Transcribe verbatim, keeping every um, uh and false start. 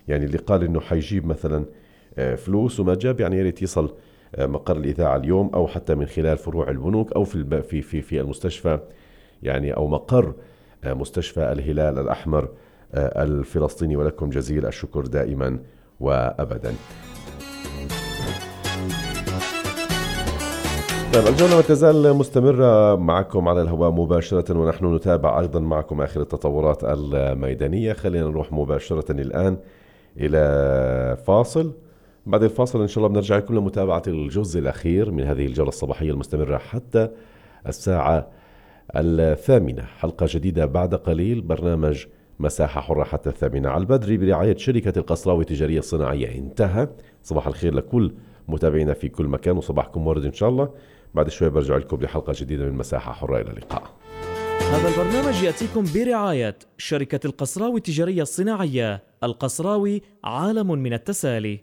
يعني اللي قال إنه حيجيب مثلا فلوس وما جاب، يعني يريد يصل مقر الإذاعة اليوم، أو حتى من خلال فروع البنوك، أو في في في في المستشفى، يعني أو مقر مستشفى الهلال الأحمر الفلسطيني. ولكم جزيل الشكر دائما وأبدا. طيب الجولة ما تزال مستمرة معكم على الهواء مباشرة، ونحن نتابع أيضا معكم آخر التطورات الميدانية. خلينا نروح مباشرة الآن إلى فاصل. بعد الفاصل إن شاء الله بنرجع لكم لمتابعة الجزء الأخير من هذه الجولة الصباحية المستمرة حتى الساعة الثامنة. حلقة جديدة بعد قليل، برنامج مساحة حرة حتى الثامنة على البدري برعاية شركة القصراوي التجارية الصناعية. انتهى. صباح الخير لكل متابعينا في كل مكان، وصباحكم ورد إن شاء الله. بعد شوي برجع لكم بحلقة جديدة من مساحة حرة. إلى اللقاء. هذا البرنامج يأتيكم برعاية شركة القصراوي التجارية الصناعية. القصراوي عالم من التسالي.